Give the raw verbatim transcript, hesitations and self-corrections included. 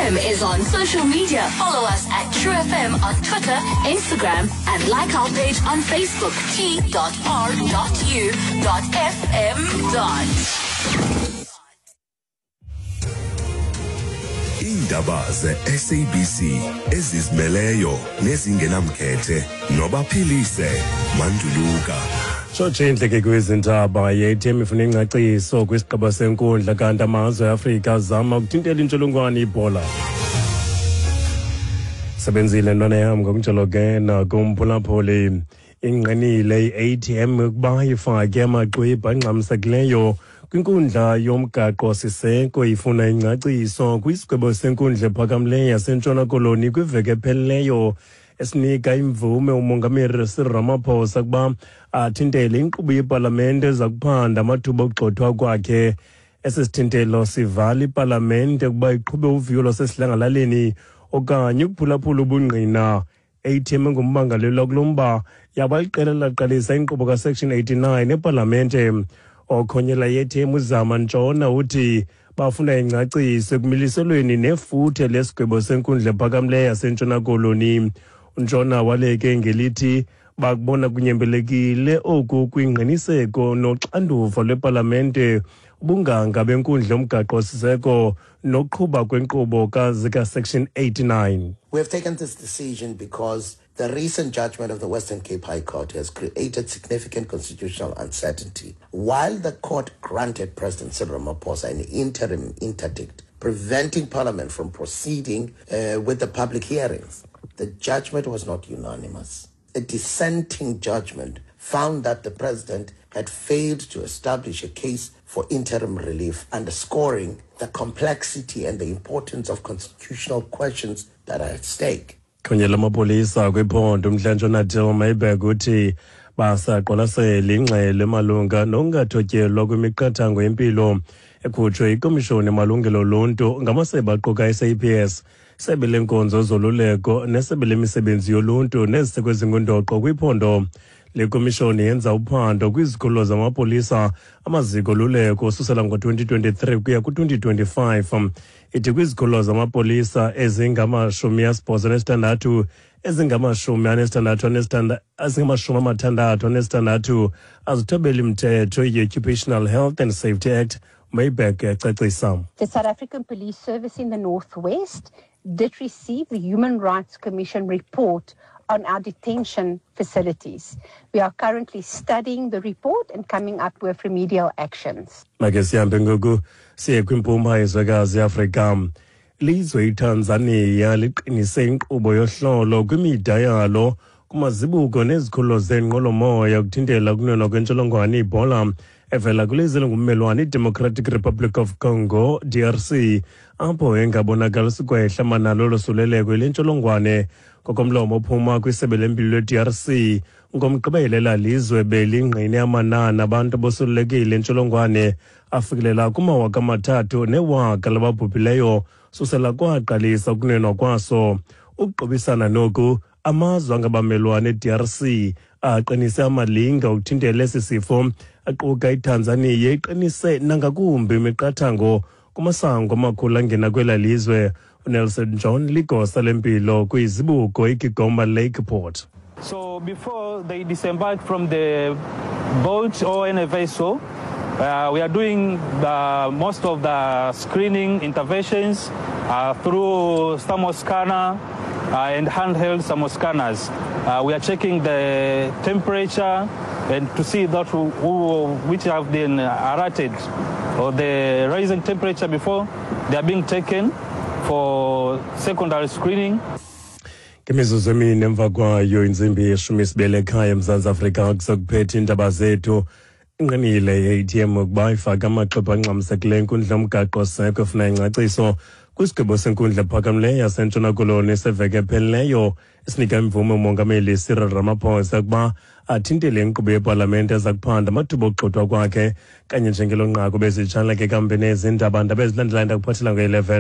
F M is on social media. Follow us at True F M on Twitter, Instagram, and like our page on Facebook, T dot R dot U dot F M. Iindaba ze-S A B C ezizimeleyo nezingenamkhethe noBaphilise Manduluka. Tshotshe indleke kwezindaba. Ye-A T M ifuna ingcaciso kwisigqibo senkundla, kanti amazwe eAfrika azama ukuthintela intsholongwane iBhola. Sebenzile ntwana yam ngokunjalo ke nakumphulaphuli. Ingqinile i-A T M ukuba ifake amaxwebhu angxamisekileyo kwinkundla yomgaqo siseko ifuna ingcaciso kwisigwebo senkundla ephakamileyo yaseNtshona Koloni kwiveki ephelileyo esinika imvume umongameli Cyril Ramaphosa ukuba athintele inkqubo yepalamente eza kuphanda amathuba okugxothwa kwakhe. Esi sithintelo sivala ipalamente ukuba iqhube uviwo lwasesidlangalaleni okanye ukuphulaphula ubungqina. A T M engummangalelwa kulo mba yaba liqela laqalisa inkqubo kaSection eighty-nine epalamente. Okhonyela i-A T M uZama Ntshona uthi bafuna ingcaciso ekumiliselweni nefuthe lesigwebo senkundla ephakamileyo yaseNtshona Koloni. UNtshona waleke ngelithi bakubona kunyembelekile oku kwingqiniseko noxanduva lwepalamente, ubunganga benkundla yomgaqo-siseko nokuqhuba kwenkqubo zikaSection eighty-nine. We have taken this decision because the recent judgment of the Western Cape High Court has created significant constitutional uncertainty. While the court granted President Cyril Ramaphosa an interim interdict preventing Parliament from proceeding uh, with the public hearings, the judgment was not unanimous. A dissenting judgment found that the president had failed to establish a case for interim relief, underscoring the complexity and the importance of constitutional questions that are at stake. Kunye lamapolisa kwiphondo uMntla-Ntshona Dale Myburgh uthi basaqwalasela ingxelo emalunga nokungathotyelwa kwemiqathango yempilo ekhutshwe yikomishoni yamalungelo oluntu ngamasebe aquka i-S A P S, isebe lenkonzo zoluleko nesebe lemisebenzi yoluntu neziseko ezingundoqo kwiphondo. Le komishoni yenza uphando kwizikhululo zamapolisa, amaziko oluleko ususela ngo-twenty twenty-three kuya ku-twenty twenty-five. Ithi kwizikhululo zamapolisa ezingamashumi asibhozo nesithandathu, ezingamashumi anesithandathu ezingamashumi amathandathu anesithandathu azithobeli mthetho i-Occupational Health and Safety Act. Myburgh ecacisa. The South African Police Service in the Northwest did receive the Human Rights Commission report on our detention facilities. We are currently studying the report and coming up with remedial actions. Make sihambe ngoku siye kwimpuma yezwekazi iAfrika. Lizwe iTanzania liqinise inkqubo yohlolo kwimida yalo, kumazibuko nezikhululo zeenqwelomoya ukuthintela ukunwenwa kwentsholongwane iBhola evela kwilizwe elingummelwane iDemocratic Republic of Congo, D R C, apho engabonakalisi kwehla manalo losuleleko yile ntsholongwane. Ngokomlomo ophuma kwisebe lempilo lwe-D R C, ngoMgqibelo elaa lizwe belingqine amanani abantu abosulelekile intsholongwane afikelela kumawaka amathathu newaka lababhubhileyo susela kwaqalisa ukunwenwa kwaso. Ukuqubisana noku, amazwe angabamelwane e-D R C aqinise amalinge okuthintela esi sifo, aquka iTanzania iqinise nangakumbi imiqathango kumasango amakhulu angena kwela lizwe. UNelson John ligosa lempilo kwizibuko iKigoma Lake Port. So before they disembark from the boat or any vessel, uh, we are doing the, most of the screening interventions uh, through thermal scanner uh, and handheld thermal scanners. Uh, we are checking the temperature and to see that who, who, which have been alerted or the rising temperature before they are being taken for secondary screening. Ngemizuzu emine emva kwayo intsimbi yeshumi sibele ekhaya eMzantsi Afrika, kusokuphetha iindaba zethu. Inqinile i-A T M ukuba ifake amaxwebhu angxamisekileyo enkundla yomgaqo seko efuna ingcaciso kwisigqibo senkundla ephakamileyo yaseNtshona Koloni seveki ephelileyo esinika imvume umongameli Cyril Ramaphosa ukuba athintele inkqubo yepalamente eza kuphanda amathuba okugxothwa kwakhe. Kanye njengelo nqaku bezitshanleke kambe nezindaba ndaba ezilandelayo ndakuphathela nge-eleven.